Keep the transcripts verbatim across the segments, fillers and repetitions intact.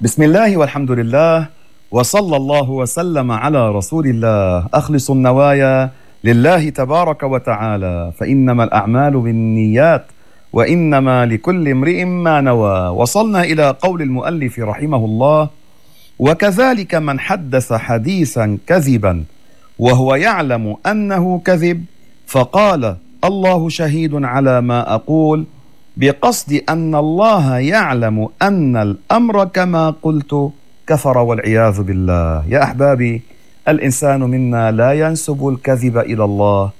بسم الله والحمد لله وصلى الله وسلم على رسول الله. أخلص النوايا لله تبارك وتعالى، فإنما الأعمال بالنيات وإنما لكل امرئ ما نوى. وصلنا إلى قول المؤلف رحمه الله: وكذلك من حدث حديثا كذبا وهو يعلم أنه كذب فقال الله شهيد على ما أقول، بقصد أن الله يعلم أن الأمر كما قلت، كفر والعياذ بالله. يا أحبابي، الإنسان منا لا ينسب الكذب إلى الله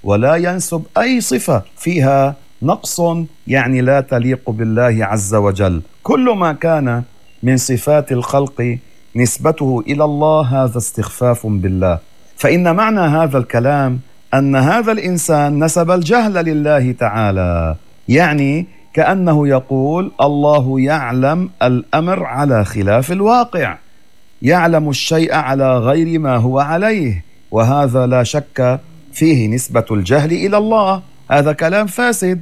ولا ينسب أي صفة فيها نقص، يعني لا تليق بالله عز وجل. كل ما كان من صفات الخلق نسبته إلى الله هذا استخفاف بالله. فإن معنى هذا الكلام أن هذا الإنسان نسب الجهل لله تعالى، يعني كأنه يقول الله يعلم الأمر على خلاف الواقع، يعلم الشيء على غير ما هو عليه، وهذا لا شك فيه نسبة الجهل إلى الله. هذا كلام فاسد،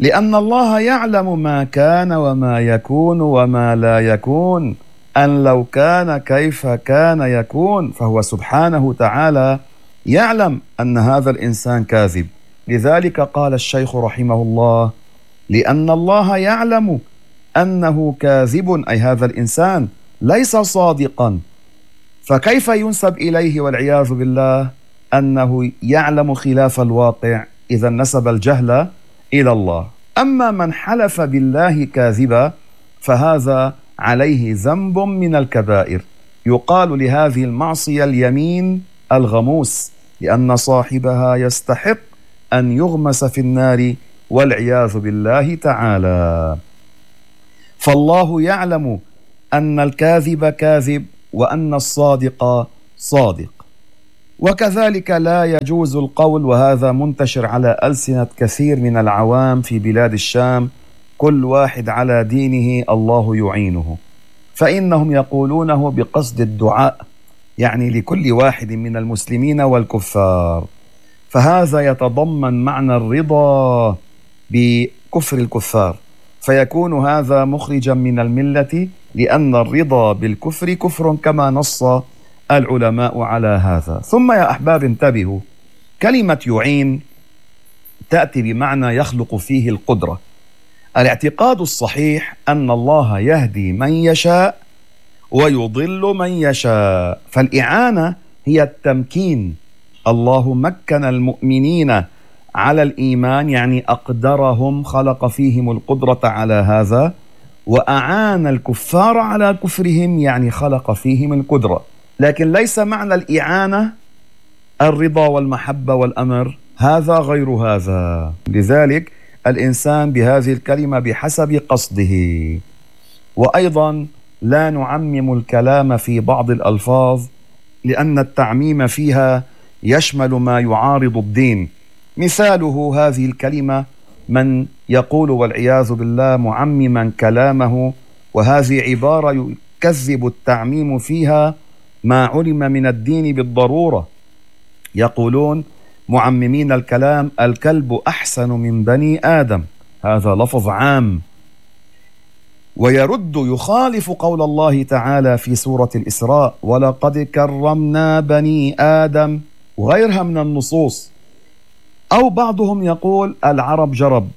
لأن الله يعلم ما كان وما يكون وما لا يكون، أن لو كان كيف كان يكون، فهو سبحانه تعالى يعلم أن هذا الإنسان كاذب. لذلك قال الشيخ رحمه الله: لأن الله يعلم أنه كاذب، أي هذا الإنسان ليس صادقا، فكيف ينسب إليه والعياذ بالله أنه يعلم خلاف الواقع؟ إذا نسب الجهل إلى الله. أما من حلف بالله كاذبا فهذا عليه ذنب من الكبائر، يقال لهذه المعصية اليمين الغموس، لأن صاحبها يستحق أن يغمس في النار والعياذ بالله تعالى. فالله يعلم أن الكاذب كاذب وأن الصادق صادق. وكذلك لا يجوز القول، وهذا منتشر على ألسنة كثير من العوام في بلاد الشام: كل واحد على دينه الله يعينه، فإنهم يقولونه بقصد الدعاء، يعني لكل واحد من المسلمين والكفار. فهذا يتضمن معنى الرضا بكفر الكفار، فيكون هذا مخرجا من الملة، لأن الرضا بالكفر كفر كما نص العلماء على هذا. ثم يا أحباب انتبهوا، كلمة يعين تأتي بمعنى يخلق فيه القدرة. الاعتقاد الصحيح أن الله يهدي من يشاء ويضل من يشاء، فالإعانة هي التمكين. الله مكن المؤمنين على الإيمان، يعني أقدرهم، خلق فيهم القدرة على هذا، وأعان الكفار على كفرهم، يعني خلق فيهم القدرة. لكن ليس معنى الإعانة الرضا والمحبة والأمر، هذا غير هذا. لذلك الإنسان بهذه الكلمة بحسب قصده. وأيضا لا نعمم الكلام في بعض الألفاظ، لأن التعميم فيها يشمل ما يعارض الدين. مثاله هذه الكلمة من يقول والعياذ بالله معمما كلامه، وهذه عبارة يكذب التعميم فيها ما علم من الدين بالضرورة. يقولون معممين الكلام: الكلب أحسن من بني آدم، هذا لفظ عام. ويرد يخالف قول الله تعالى في سورة الإسراء: ولقد كرمنا بني آدم، وغيرها من النصوص. أو بعضهم يقول العرب جرب،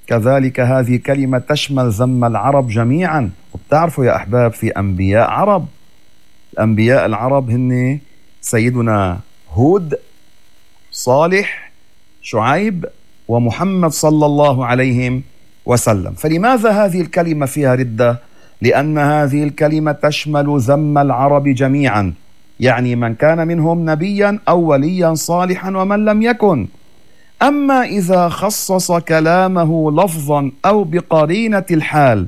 كذلك هذه كلمة تشمل ذم العرب جميعا. وبتعرفوا يا أحباب في أنبياء عرب، الأنبياء العرب هن سيدنا هود، صالح، شعيب، ومحمد صلى الله عليه وسلم. فلماذا هذه الكلمة فيها ردة؟ لأن هذه الكلمة تشمل ذم العرب جميعا، يعني من كان منهم نبيا أو وليا صالحا ومن لم يكن. أما إذا خصص كلامه لفظا أو بقرينة الحال،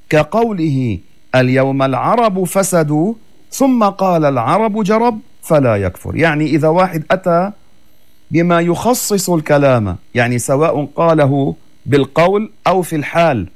كقوله اليوم العرب فسدوا ثم قال العرب جرب، فلا يكفر. يعني إذا واحد أتى بما يخصص الكلام، يعني سواء قاله بالقول أو في الحال،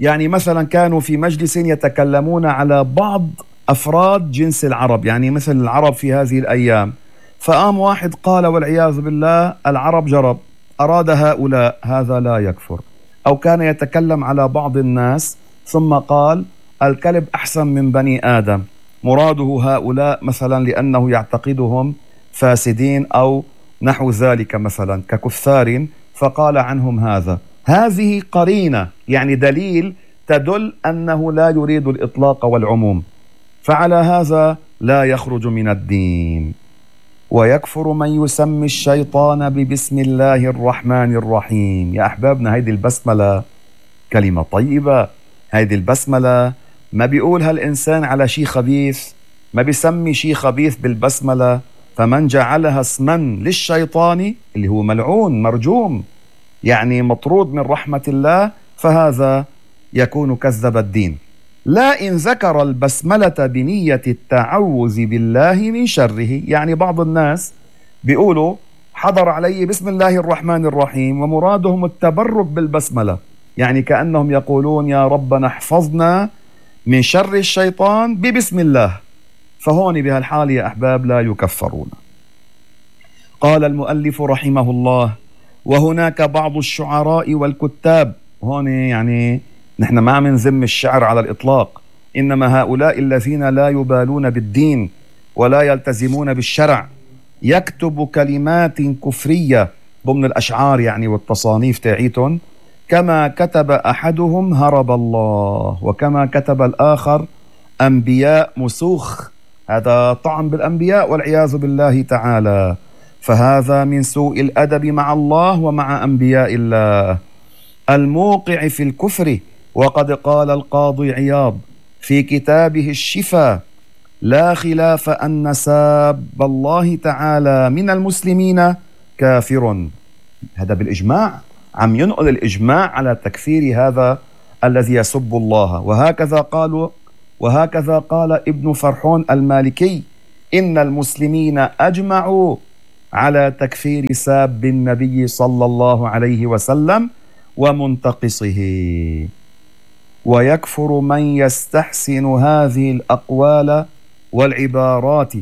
يعني مثلا كانوا في مجلس يتكلمون على بعض أفراد جنس العرب، يعني مثل العرب في هذه الأيام، فقام واحد قال والعياذ بالله العرب جرب، أراد هؤلاء، هذا لا يكفر. أو كان يتكلم على بعض الناس ثم قال الكلب أحسن من بني آدم، مراده هؤلاء مثلا لأنه يعتقدهم فاسدين أو نحو ذلك مثلا ككفار فقال عنهم هذا. هذه قرينة يعني دليل تدل أنه لا يريد الإطلاق والعموم، فعلى هذا لا يخرج من الدين. ويكفر من يسمي الشيطان ببسم الله الرحمن الرحيم. يا أحبابنا هيدي البسملة كلمة طيبة، هيدي البسملة ما بيقولها الإنسان على شيء خبيث، ما بيسمي شيء خبيث بالبسملة. فمن جعلها اسما للشيطان اللي هو ملعون مرجوم يعني مطرود من رحمة الله فهذا يكون كذب الدين. لا إن ذكر البسملة بنية التعوذ بالله من شره. يعني بعض الناس بيقولوا حضر علي بسم الله الرحمن الرحيم ومرادهم التبرك بالبسملة، يعني كأنهم يقولون يا ربنا احفظنا من شر الشيطان ببسم الله، فهون بهالحال يا أحباب لا يكفرون. قال المؤلف رحمه الله: وهناك بعض الشعراء والكتاب. هون يعني نحن ما عم نذم الشعر على الإطلاق، إنما هؤلاء الذين لا يبالون بالدين ولا يلتزمون بالشرع يكتب كلمات كفرية ضمن الأشعار يعني والتصانيف تاعيتهم، كما كتب أحدهم هرب الله، وكما كتب الآخر أنبياء مسوخ. هذا طعن بالأنبياء والعياذ بالله تعالى، فهذا من سوء الأدب مع الله ومع أنبياء الله الموقع في الكفر. وقد قال القاضي عياض في كتابه الشفاء: لا خلاف أن ساب الله تعالى من المسلمين كافر. هذا بالإجماع، عم ينقل الإجماع على تكفير هذا الذي يسب الله. وهكذا قالوا وهكذا قال ابن فرحون المالكي: إن المسلمين أجمعوا على تكفير ساب النبي صلى الله عليه وسلم ومنتقصه. ويكفر من يستحسن هذه الأقوال والعبارات،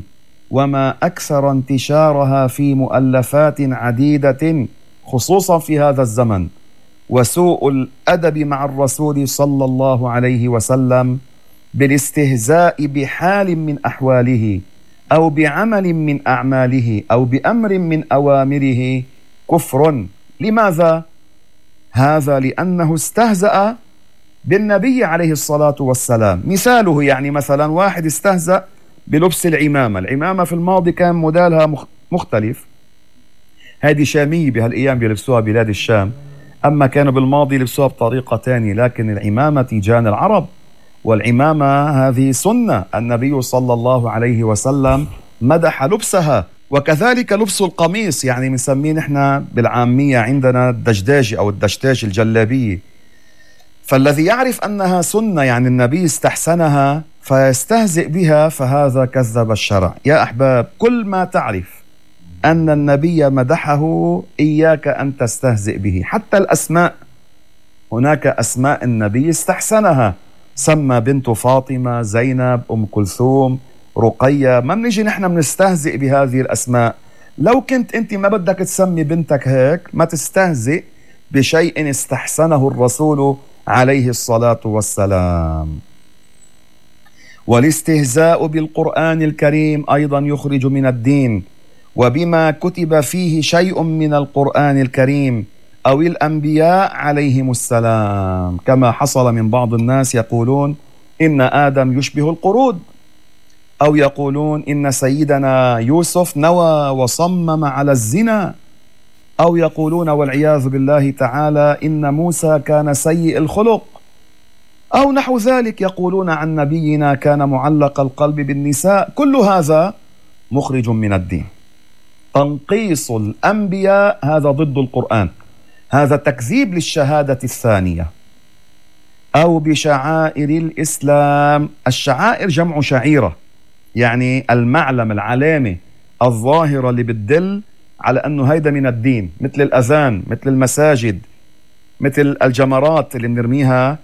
وما أكثر انتشارها في مؤلفات عديدة خصوصا في هذا الزمن. وسوء الأدب مع الرسول صلى الله عليه وسلم بالاستهزاء بحال من أحواله أو بعمل من أعماله أو بأمر من أوامره كفر. لماذا؟ هذا لأنه استهزأ بالنبي عليه الصلاة والسلام. مثاله يعني مثلا واحد استهزأ بلبس العمامة. العمامة في الماضي كان موديلها مختلف، هذه شامية بهالأيام بيلبسوها بلاد الشام، أما كانوا بالماضي لبسوها بطريقة تانية. لكن العمامة تيجان العرب، والعمامة هذه سنة، النبي صلى الله عليه وسلم مدح لبسها. وكذلك لبس القميص، يعني بنسميه نحن بالعامية عندنا الدجداجي أو الدشتاش الجلابية. فالذي يعرف أنها سنة يعني النبي استحسنها فيستهزئ بها فهذا كذب الشرع. يا أحباب، كل ما تعرف أن النبي مدحه إياك أن تستهزئ به. حتى الأسماء، هناك أسماء النبي استحسنها، سمى بنت فاطمة، زينب، أم كلثوم، رقية. ما بنيجي نحن بنستهزئ بهذه الأسماء. لو كنت أنت ما بدك تسمي بنتك هيك ما تستهزئ بشيء استحسنه الرسول عليه الصلاة والسلام. والاستهزاء بالقرآن الكريم أيضا يخرج من الدين، وبما كتب فيه شيء من القرآن الكريم أو الأنبياء عليهم السلام، كما حصل من بعض الناس يقولون إن آدم يشبه القرود، أو يقولون إن سيدنا يوسف نوى وصمم على الزنا، أو يقولون والعياذ بالله تعالى إن موسى كان سيء الخلق، أو نحو ذلك. يقولون عن نبينا كان معلق القلب بالنساء. كل هذا مخرج من الدين. تنقيص الأنبياء هذا ضد القرآن، هذا تكذيب للشهادة الثانية. أو بشعائر الإسلام. الشعائر جمع شعيرة، يعني المعلم، العلامة الظاهرة اللي بتدل على أنه هيدا من الدين، مثل الأذان، مثل المساجد، مثل الجمرات اللي بنرميها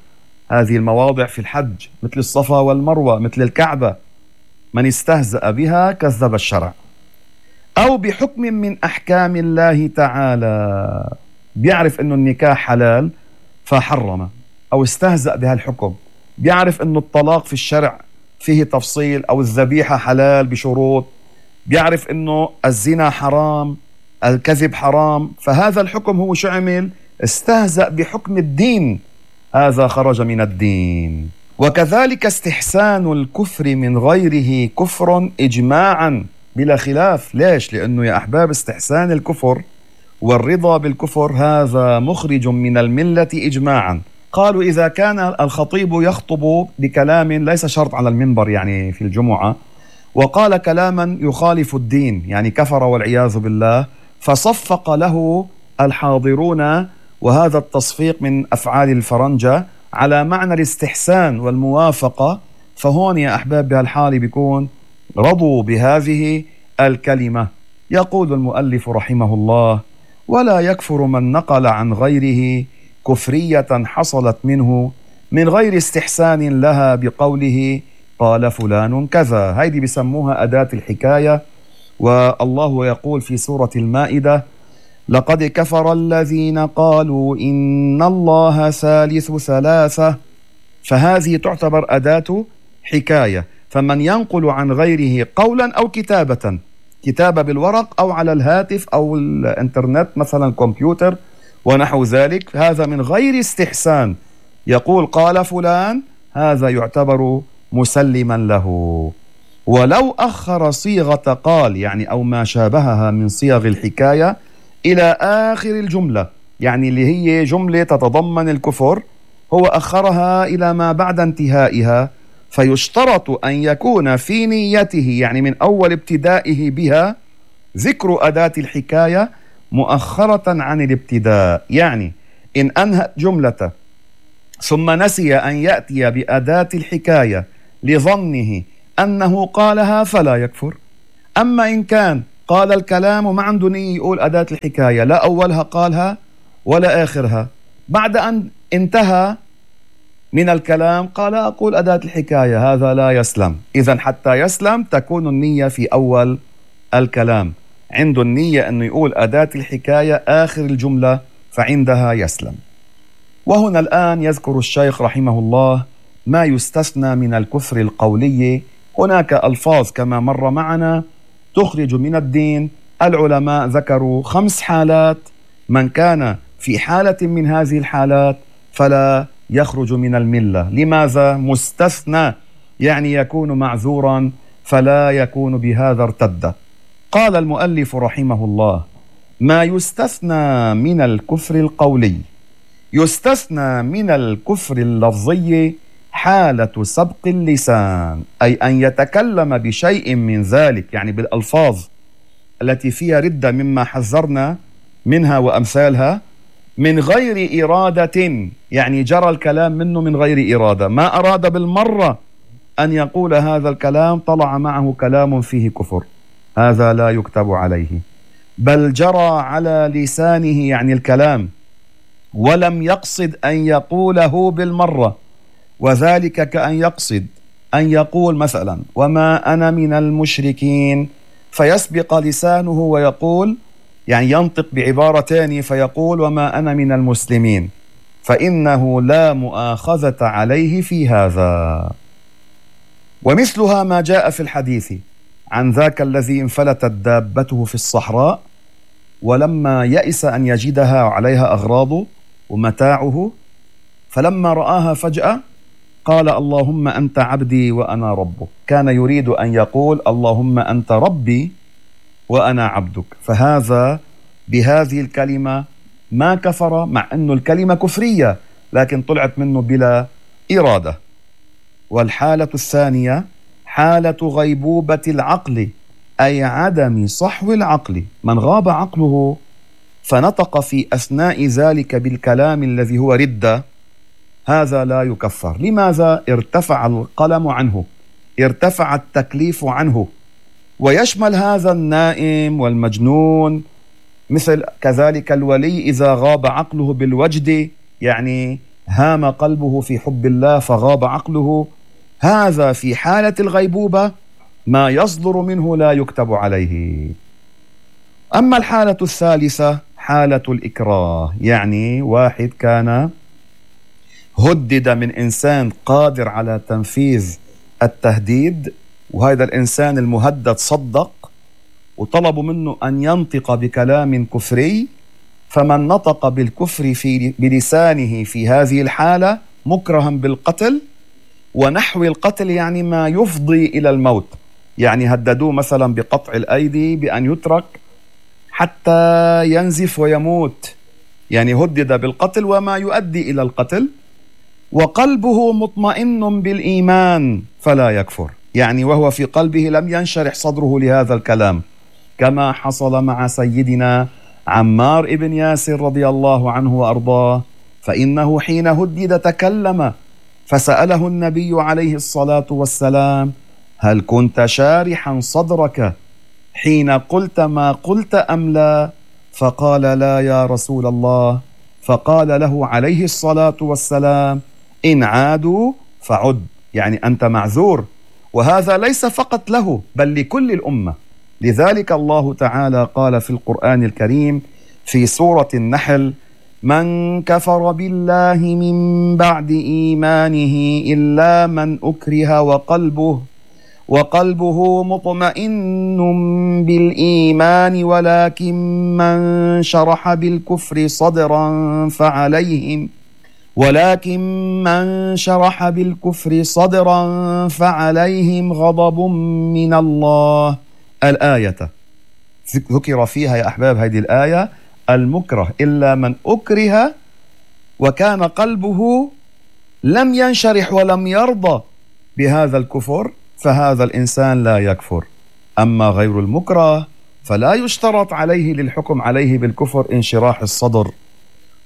هذه المواضع في الحج، مثل الصفا والمروة، مثل الكعبة. من استهزأ بها كذب الشرع. أو بحكم من أحكام الله تعالى، بيعرف أنه النكاح حلال فحرم، أو استهزأ بها الحكم. بيعرف أنه الطلاق في الشرع فيه تفصيل، أو الذبيحة حلال بشروط، بيعرف أنه الزنا حرام، الكذب حرام، فهذا الحكم هو شو عمل؟ استهزأ بحكم الدين، هذا خرج من الدين. وكذلك استحسان الكفر من غيره كفر إجماعا بلا خلاف. ليش؟ لأنه يا أحباب استحسان الكفر والرضا بالكفر هذا مخرج من الملة إجماعا. قالوا إذا كان الخطيب يخطب بكلام ليس شرط على المنبر يعني في الجمعة، وقال كلاما يخالف الدين يعني كفر والعياذ بالله، فصفق له الحاضرون، وهذا التصفيق من أفعال الفرنجة على معنى الاستحسان والموافقة، فهون يا أحباب بهالحالة بيكون رضوا بهذه الكلمة. يقول المؤلف رحمه الله: ولا يكفر من نقل عن غيره كفرية حصلت منه من غير استحسان لها بقوله قال فلان كذا. هيدي بسموها أداة الحكاية. والله يقول في سورة المائدة: لقد كفر الذين قالوا إن الله ثالث ثلاثة. فهذه تعتبر أداة حكاية. فمن ينقل عن غيره قولا أو كتابة، كتابة بالورق أو على الهاتف أو الإنترنت مثلا كمبيوتر ونحو ذلك، هذا من غير استحسان، يقول قال فلان، هذا يعتبر مسلما له. ولو أخر صيغة قال يعني أو ما شابهها من صيغ الحكاية إلى آخر الجملة، يعني اللي هي جملة تتضمن الكفر، هو أخرها إلى ما بعد انتهائها، فيشترط أن يكون في نيته يعني من أول ابتدائه بها ذكر أداة الحكاية مؤخرة عن الابتداء. يعني إن أنهى جملة ثم نسي أن يأتي بأداة الحكاية لظنه أنه قالها فلا يكفر. أما إن كان قال الكلام وما عنده نية يقول أداة الحكاية، لا أولها قالها ولا آخرها، بعد أن انتهى من الكلام قال أقول أداة الحكاية، هذا لا يسلم. إذن حتى يسلم تكون النية في أول الكلام، عنده النية أنه يقول أداة الحكاية آخر الجملة، فعندها يسلم. وهنا الآن يذكر الشيخ رحمه الله ما يستثنى من الكفر القولي. هناك ألفاظ كما مر معنا تخرج من الدين. العلماء ذكروا خمس حالات، من كان في حالة من هذه الحالات فلا يخرج من الملة. لماذا؟ مستثنى، يعني يكون معذورا فلا يكون بهذا ارتد. قال المؤلف رحمه الله: ما يستثنى من الكفر القولي. يستثنى من الكفر اللفظي حالة سبق اللسان، أي أن يتكلم بشيء من ذلك يعني بالألفاظ التي فيها ردة مما حذرنا منها وأمثالها، من غير إرادة، يعني جرى الكلام منه من غير إرادة، ما أراد بالمرة أن يقول هذا الكلام، طلع معه كلام فيه كفر، هذا لا يكتب عليه. بل جرى على لسانه يعني الكلام ولم يقصد أن يقوله بالمرة، وذلك كأن يقصد أن يقول مثلا وما أنا من المشركين، فيسبق لسانه ويقول يعني ينطق بعبارة ثانية فيقول وما أنا من المسلمين، فإنه لا مؤاخذة عليه في هذا. ومثلها ما جاء في الحديث عن ذاك الذي انفلتت دابته في الصحراء، ولما يئس أن يجدها عليها أغراضه ومتاعه، فلما رآها فجأة قال اللهم أنت عبدي وأنا ربك. كان يريد أن يقول اللهم أنت ربي وأنا عبدك، فهذا بهذه الكلمة ما كفر، مع أنه الكلمة كفرية لكن طلعت منه بلا إرادة. والحالة الثانية حالة غيبوبة العقل، أي عدم صحو العقل، من غاب عقله فنطق في أثناء ذلك بالكلام الذي هو ردة، هذا لا يكفر. لماذا؟ ارتفع القلم عنه، ارتفع التكليف عنه، ويشمل هذا النائم والمجنون، مثل كذلك الولي إذا غاب عقله بالوجد، يعني هام قلبه في حب الله فغاب عقله، هذا في حالة الغيبوبة ما يصدر منه لا يكتب عليه. أما الحالة الثالثة حالة الإكراه، يعني واحد كان هدد من إنسان قادر على تنفيذ التهديد، وهذا الإنسان المهدد صدق وطلبوا منه أن ينطق بكلام كفري، فمن نطق بالكفر في بلسانه في هذه الحالة مكرها بالقتل ونحو القتل، يعني ما يفضي إلى الموت. يعني هددوه مثلا بقطع الأيدي، بأن يترك حتى ينزف ويموت، يعني هدد بالقتل وما يؤدي إلى القتل. وقلبه مطمئن بالإيمان فلا يكفر، يعني وهو في قلبه لم ينشرح صدره لهذا الكلام، كما حصل مع سيدنا عمار ابن ياسر رضي الله عنه وأرضاه، فإنه حين هدد تكلم، فسأله النبي عليه الصلاة والسلام: هل كنت شارحا صدرك حين قلت ما قلت أم لا؟ فقال: لا يا رسول الله. فقال له عليه الصلاة والسلام: إن عادوا فعد، يعني أنت معذور. وهذا ليس فقط له بل لكل الأمة. لذلك الله تعالى قال في القرآن الكريم في سورة النحل: من كفر بالله من بعد إيمانه إلا من أكره وقلبه وقلبه مطمئن بالإيمان ولكن من شرح بالكفر صدرا فعليهم ولكن من شرح بالكفر صدرا فعليهم غضب من الله. الآية ذكر فيها يا أحباب هذه الآية المكره إلا من أكره وكان قلبه لم ينشرح ولم يرضى بهذا الكفر، فهذا الإنسان لا يكفر. أما غير المكره فلا يشترط عليه للحكم عليه بالكفر انشراح الصدر،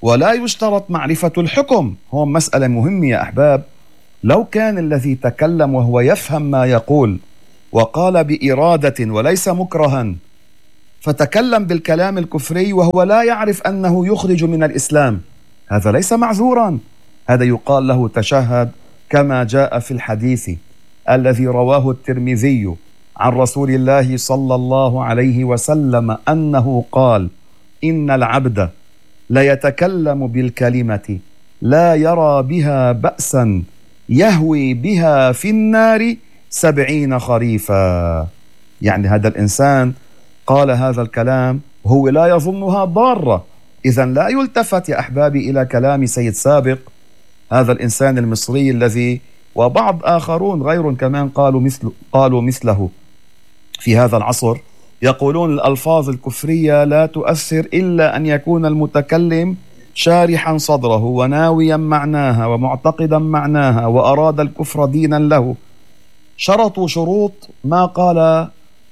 ولا يشترط معرفة الحكم. هو مسألة مهمة يا أحباب. لو كان الذي تكلم وهو يفهم ما يقول وقال بإرادة وليس مكرها، فتكلم بالكلام الكفري وهو لا يعرف أنه يخرج من الإسلام، هذا ليس معذورا، هذا يقال له تشهد، كما جاء في الحديث الذي رواه الترمذي عن رسول الله صلى الله عليه وسلم أنه قال: إن العبد ليتكلم بالكلمة لا يرى بها بأسا يهوي بها في النار سبعين خريفا. يعني هذا الإنسان قال هذا الكلام هو لا يظنها ضارة. إذن لا يلتفت يا أحبابي إلى كلام سيد سابق، هذا الإنسان المصري الذي وبعض آخرون غير كمان قالوا مثل قالوا مثله في هذا العصر، يقولون الألفاظ الكفرية لا تؤثر إلا أن يكون المتكلم شارحا صدره وناويا معناها ومعتقدا معناها وأراد الكفر دينا له. شرطوا شروط ما قال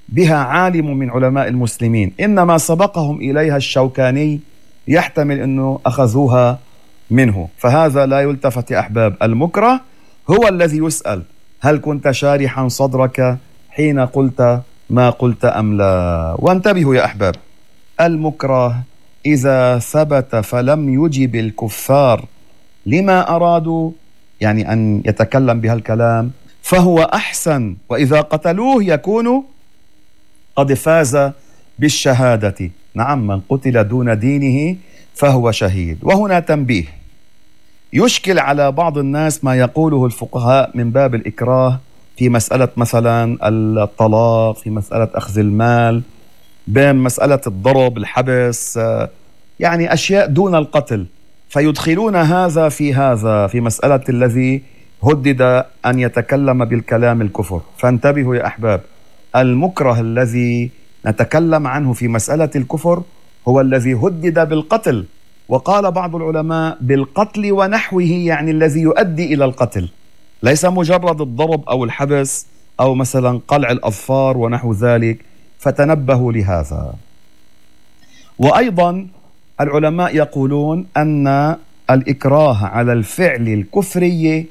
بها عالم من علماء المسلمين، إنما سبقهم إليها الشوكاني، يحتمل أنه أخذوها منه. فهذا لا يلتفت يا أحباب. المكره هو الذي يسأل: هل كنت شارحا صدرك حين قلت ما قلت أم لا؟ وانتبهوا يا أحباب، المكره إذا ثبت فلم يجب الكفار لما أرادوا، يعني أن يتكلم بها الكلام، فهو أحسن، وإذا قتلوه يكون قد فاز بالشهادة. نعم، من قتل دون دينه فهو شهيد. وهنا تنبيه: يشكل على بعض الناس ما يقوله الفقهاء من باب الإكراه في مسألة مثلا الطلاق، في مسألة أخذ المال، بين مسألة الضرب، الحبس، يعني أشياء دون القتل، فيدخلون هذا في هذا في مسألة الذي هدد أن يتكلم بالكلام الكفر. فانتبهوا يا أحباب، المكره الذي نتكلم عنه في مسألة الكفر هو الذي هدد بالقتل، وقال بعض العلماء بالقتل ونحوه، يعني الذي يؤدي إلى القتل، ليس مجرد الضرب أو الحبس أو مثلا قلع الأظفار ونحو ذلك. فتنبهوا لهذا. وأيضا العلماء يقولون أن الإكراه على الفعل الكفري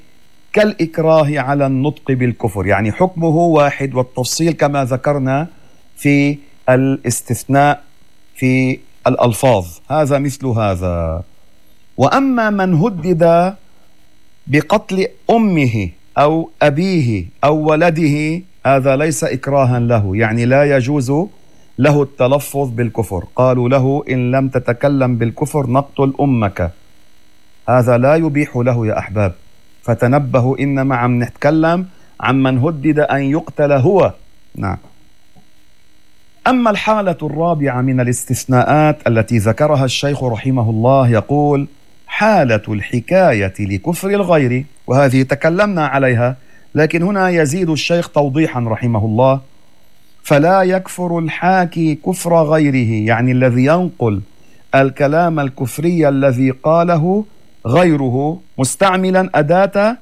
كالإكراه على النطق بالكفر، يعني حكمه واحد، والتفصيل كما ذكرنا في الاستثناء في الألفاظ، هذا مثل هذا. وأما من هدد بقتل أمه أو أبيه أو ولده، هذا ليس إكراها له، يعني لا يجوز له التلفظ بالكفر. قالوا له: إن لم تتكلم بالكفر نقتل أمك، هذا لا يبيح له يا أحباب. فتنبهوا، إنما عم نتكلم عن من هدد أن يقتل هو. نعم. أما الحالة الرابعة من الاستثناءات التي ذكرها الشيخ رحمه الله، يقول: حالة الحكاية لكفر الغير، وهذه تكلمنا عليها، لكن هنا يزيد الشيخ توضيحا رحمه الله: فلا يكفر الحاكي كفر غيره، يعني الذي ينقل الكلام الكفري الذي قاله غيره مستعملا أداة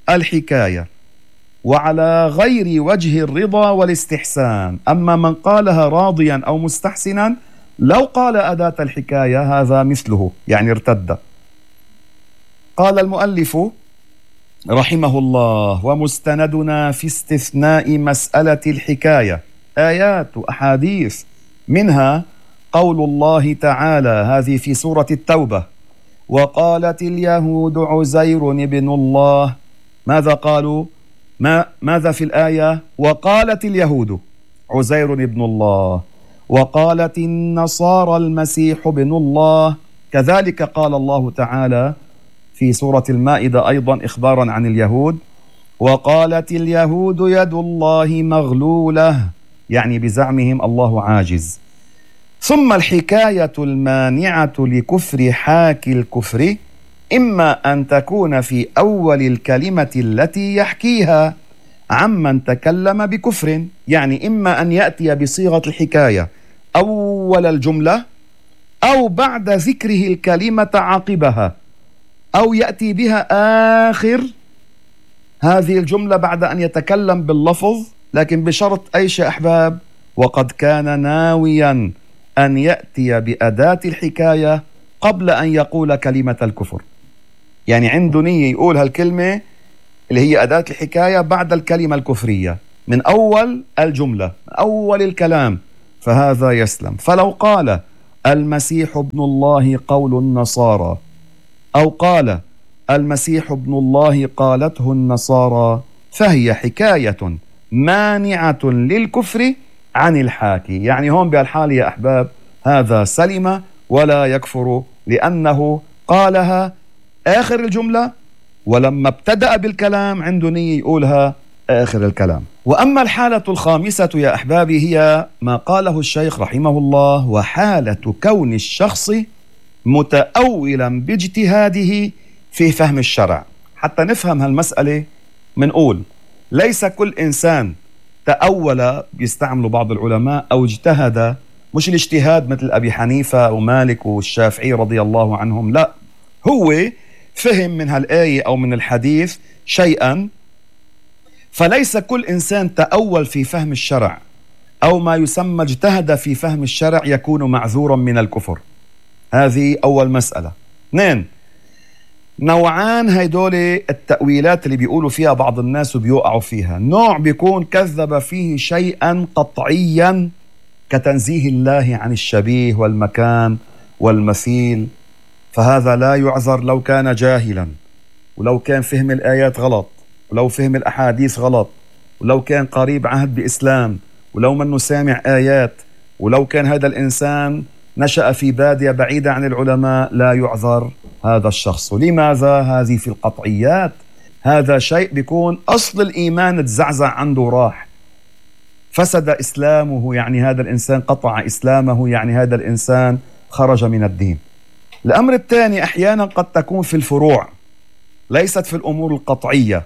الحكاية وعلى غير وجه الرضا والاستحسان. أما من قالها راضيا أو مستحسنا لو قال أداة الحكاية هذا مثله، يعني ارتد. قال المؤلف رحمه الله: ومستندنا في استثناء مسألة الحكاية آيات وأحاديث، منها قول الله تعالى، هذه في سورة التوبة: وقالت اليهود عزير ابن الله. ماذا قالوا؟ ما ماذا في الآية؟ وقالت اليهود عزير ابن الله، وقالت النصارى المسيح ابن الله. كذلك قال الله تعالى في سورة المائدة أيضا إخبارا عن اليهود: وقالت اليهود يد الله مغلولة، يعني بزعمهم الله عاجز. ثم الحكاية المانعة لكفر حاكي الكفر إما أن تكون في أول الكلمة التي يحكيها عمن تكلم بكفر، يعني إما أن يأتي بصيغة الحكاية أول الجملة، أو بعد ذكره الكلمة عقبها، أو يأتي بها آخر هذه الجملة بعد أن يتكلم باللفظ، لكن بشرط أيش يا أحباب؟ وقد كان ناويا أن يأتي بأداة الحكاية قبل أن يقول كلمة الكفر، يعني عنده نية يقول هالكلمة اللي هي أداة الحكاية بعد الكلمة الكفرية من أول الجملة، من أول الكلام، فهذا يسلم. فلو قال المسيح ابن الله قول النصارى، أو قال المسيح ابن الله قالته النصارى، فهي حكاية مانعة للكفر عن الحاكي. يعني هون بهالحال يا أحباب هذا سلم ولا يكفر، لأنه قالها آخر الجملة، ولما ابتدأ بالكلام عنده نية يقولها آخر الكلام. وأما الحالة الخامسة يا أحبابي هي ما قاله الشيخ رحمه الله: وحالة كون الشخص متأولا باجتهاده في فهم الشرع. حتى نفهم هالمسألة منقول ليس كل إنسان تأول، بيستعملوا بعض العلماء، أو اجتهد، مش الاجتهاد مثل أبي حنيفة ومالك والشافعي رضي الله عنهم، لا، هو فهم من هالآية أو من الحديث شيئا. فليس كل إنسان تأول في فهم الشرع أو ما يسمى اجتهد في فهم الشرع يكون معذورا من الكفر. هذه أول مسألة. اثنين، نوعان هيدول التأويلات اللي بيقولوا فيها بعض الناس وبيوقعوا فيها. نوع بيكون كذب فيه شيئا قطعيا كتنزيه الله عن الشبيه والمكان والمثيل، فهذا لا يعذر لو كان جاهلا، ولو كان فهم الآيات غلط، ولو فهم الأحاديث غلط، ولو كان قريب عهد بإسلام، ولو منه سامع آيات، ولو كان هذا الإنسان نشأ في بادية بعيدة عن العلماء، لا يعذر هذا الشخص. لماذا؟ هذه في القطعيات، هذا شيء بيكون أصل الإيمان تزعزع عنده، راح فسد إسلامه، يعني هذا الإنسان قطع إسلامه، يعني هذا الإنسان خرج من الدين. الأمر الثاني أحيانا قد تكون في الفروع، ليست في الأمور القطعية،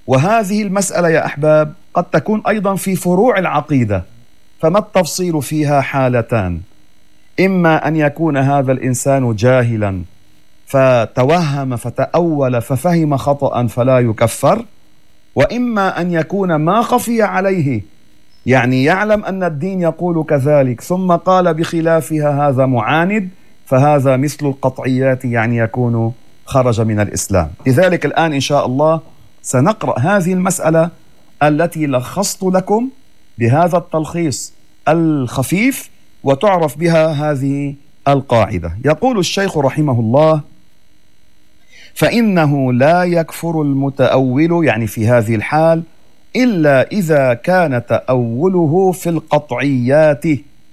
وهذه المسألة يا أحباب قد تكون أيضا في فروع العقيدة. فما التفصيل فيها؟ حالتان: إما أن يكون هذا الإنسان جاهلا فتوهم فتأول ففهم خطأ فلا يكفر، وإما أن يكون ما خفي عليه، يعني يعلم أن الدين يقول كذلك ثم قال بخلافها، هذا معاند، فهذا مثل القطعيات، يعني يكون خرج من الإسلام. لذلك الآن إن شاء الله سنقرأ هذه المسألة التي لخصت لكم بهذا التلخيص الخفيف، وتعرف بها هذه القاعدة. يقول الشيخ رحمه الله: فإنه لا يكفر المتأول، يعني في هذه الحال، إلا إذا كان تأوله في القطعيات.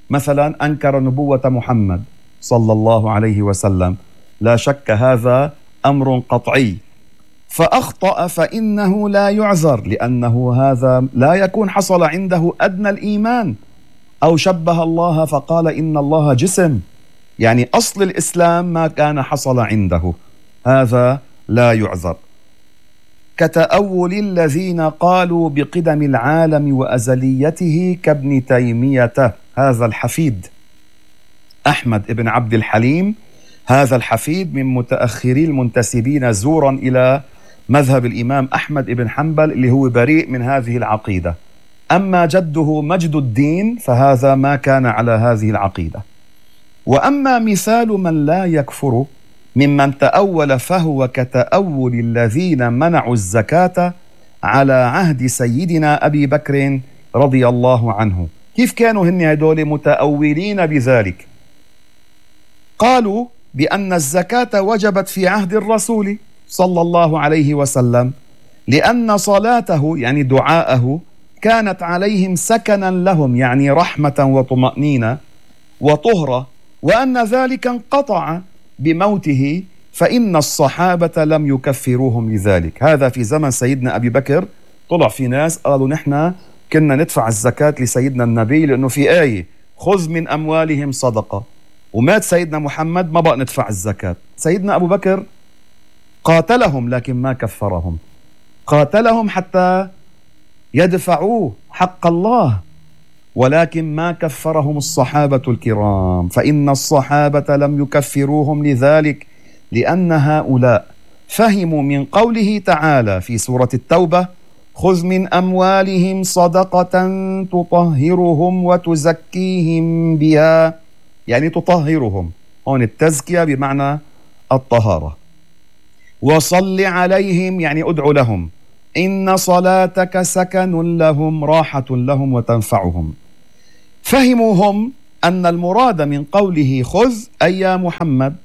مثلا أنكر نبوة محمد صلى الله عليه وسلم، لا شك هذا أمر قطعي، فأخطأ فإنه لا يعذر، لأنه هذا لا يكون حصل عنده أدنى الإيمان، أو شبه الله فقال إن الله جسم، يعني أصل الإسلام ما كان حصل عنده، هذا لا يعذر. كتأول الذين قالوا بقدم العالم وأزليته كابن تيمية، هذا الحفيد أحمد بن عبد الحليم، هذا الحفيد من متأخري المنتسبين زورا إلى مذهب الإمام أحمد بن حنبل اللي هو بريء من هذه العقيدة. أما جده مجد الدين فهذا ما كان على هذه العقيدة. وأما مثال من لا يكفر ممن تأول فهو كتأول الذين منعوا الزكاة على عهد سيدنا أبي بكر رضي الله عنه. كيف كانوا هن هدول متأولين بذلك؟ قالوا بأن الزكاة وجبت في عهد الرسول صلى الله عليه وسلم، لأن صلاته يعني دعاءه كانت عليهم سكنا لهم، يعني رحمة وطمأنينة وطهرة، وأن ذلك انقطع بموته، فإن الصحابة لم يكفروهم لذلك. هذا في زمن سيدنا أبي بكر طلع في ناس قالوا نحن كنا ندفع الزكاة لسيدنا النبي لأنه في آية خذ من أموالهم صدقة، ومات سيدنا محمد ما بقى ندفع الزكاة. سيدنا أبو بكر قاتلهم لكن ما كفرهم، قاتلهم حتى يدفعوا حق الله، ولكن ما كفرهم الصحابة الكرام، فإن الصحابة لم يكفروهم لذلك، لأن هؤلاء فهموا من قوله تعالى في سورة التوبة خذ من أموالهم صدقة تطهرهم وتزكيهم بها، يعني تطهرهم، هون التزكية بمعنى الطهارة، وصل عليهم يعني أدعو لهم، إن صلاتك سكن لهم راحة لهم وتنفعهم. فهموا هم أن المراد من قوله خذ أي يا محمد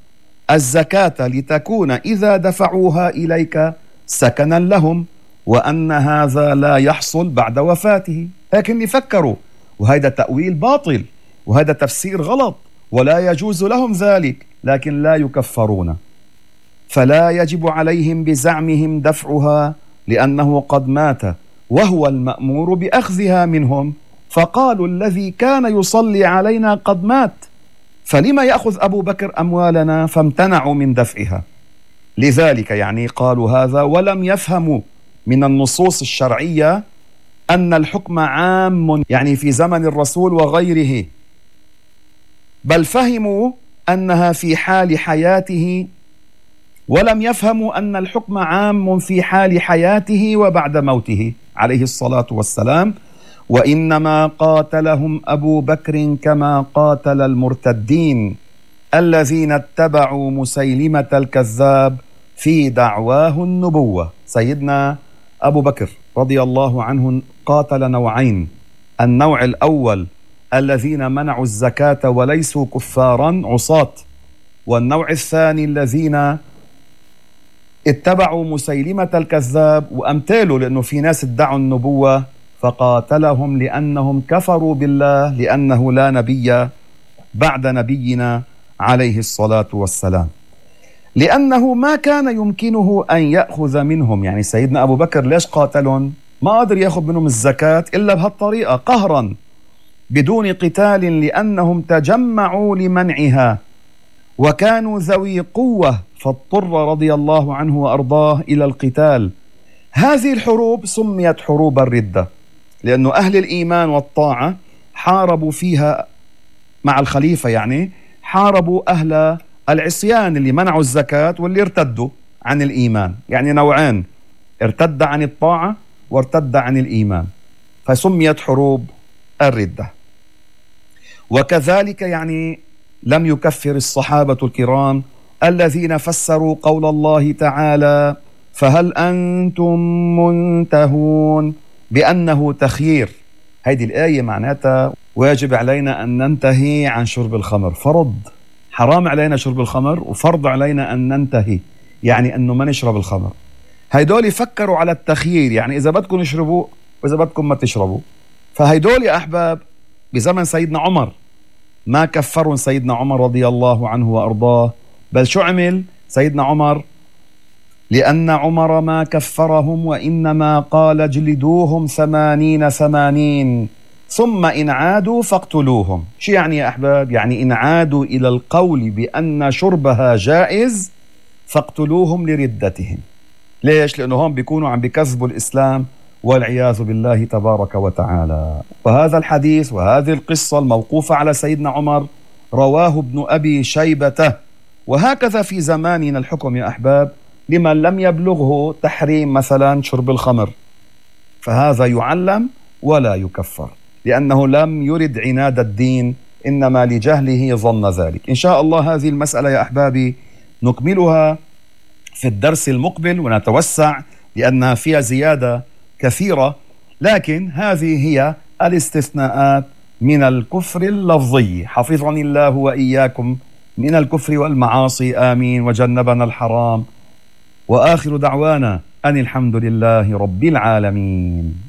الزكاة لتكون إذا دفعوها إليك سكنا لهم، وأن هذا لا يحصل بعد وفاته. لكن يفكروا، وهذا تأويل باطل، وهذا تفسير غلط، ولا يجوز لهم ذلك، لكن لا يكفرون، فلا يجب عليهم بزعمهم دفعها لأنه قد مات وهو المأمور بأخذها منهم، فقالوا الذي كان يصلي علينا قد مات، فلما يأخذ أبو بكر أموالنا؟ فامتنعوا من دفعها. لذلك يعني قالوا هذا، ولم يفهموا من النصوص الشرعية أن الحكم عام يعني في زمن الرسول وغيره، بل فهموا أنها في حال حياته، ولم يفهموا أن الحكم عام في حال حياته وبعد موته عليه الصلاة والسلام. وإنما قاتلهم أبو بكر كما قاتل المرتدين الذين اتبعوا مسيلمة الكذاب في دعواه النبوة. سيدنا أبو بكر رضي الله عنه قاتل نوعين، النوع الأول الذين منعوا الزكاة وليسوا كفارا عصاة، والنوع الثاني الذين اتبعوا مسيلمة الكذاب وأمثاله، لأنه في ناس ادعوا النبوة فقاتلهم لأنهم كفروا بالله، لأنه لا نبي بعد نبينا عليه الصلاة والسلام، لأنه ما كان يمكنه أن يأخذ منهم. يعني سيدنا أبو بكر ليش قاتلهم؟ ما قدر يأخذ منهم الزكاة إلا بهالطريقة قهرا بدون قتال، لأنهم تجمعوا لمنعها وكانوا ذوي قوة، فاضطر رضي الله عنه وأرضاه إلى القتال. هذه الحروب سميت حروب الردة، لأن أهل الإيمان والطاعة حاربوا فيها مع الخليفة، يعني حاربوا أهل العصيان اللي منعوا الزكاة واللي ارتدوا عن الإيمان، يعني نوعين، ارتد عن الطاعة وارتد عن الإيمان، فسميت حروب الردة. وكذلك يعني لم يكفر الصحابة الكرام الذين فسروا قول الله تعالى فهل أنتم منتهون بأنه تخيير. هذه الآية معناتها واجب علينا أن ننتهي عن شرب الخمر، فرض حرام علينا شرب الخمر، وفرض علينا أن ننتهي، يعني أنه ما نشرب الخمر. هيدول يفكروا على التخيير، يعني إذا بدكم اشربوا وإذا بدكم ما تشربوا. فهيدول يا أحباب بزمن سيدنا عمر ما كفروا سيدنا عمر رضي الله عنه وأرضاه، بل شو عمل سيدنا عمر؟ لأن عمر ما كفرهم وإنما قال اجلدوهم ثمانين ثمانين ثم إن عادوا فاقتلوهم. شو يعني يا أحباب؟ يعني إن عادوا إلى القول بأن شربها جائز فاقتلوهم لردتهم. ليش؟ لأنه هم بيكونوا عم بكذبوا الإسلام والعياذ بالله تبارك وتعالى. وهذا الحديث وهذه القصة الموقوفة على سيدنا عمر رواه ابن أبي شيبة. وهكذا في زماننا الحكم يا أحباب لمن لم يبلغه تحريم مثلا شرب الخمر، فهذا يعلم ولا يكفر لأنه لم يرد عناد الدين، إنما لجهله ظن ذلك. إن شاء الله هذه المسألة يا أحبابي نكملها في الدرس المقبل ونتوسع لأنها فيها زيادة كثيرة، لكن هذه هي الاستثناءات من الكفر اللفظي. حفظني الله وإياكم من الكفر والمعاصي، آمين، وجنبنا الحرام. وآخر دعوانا أن الحمد لله رب العالمين.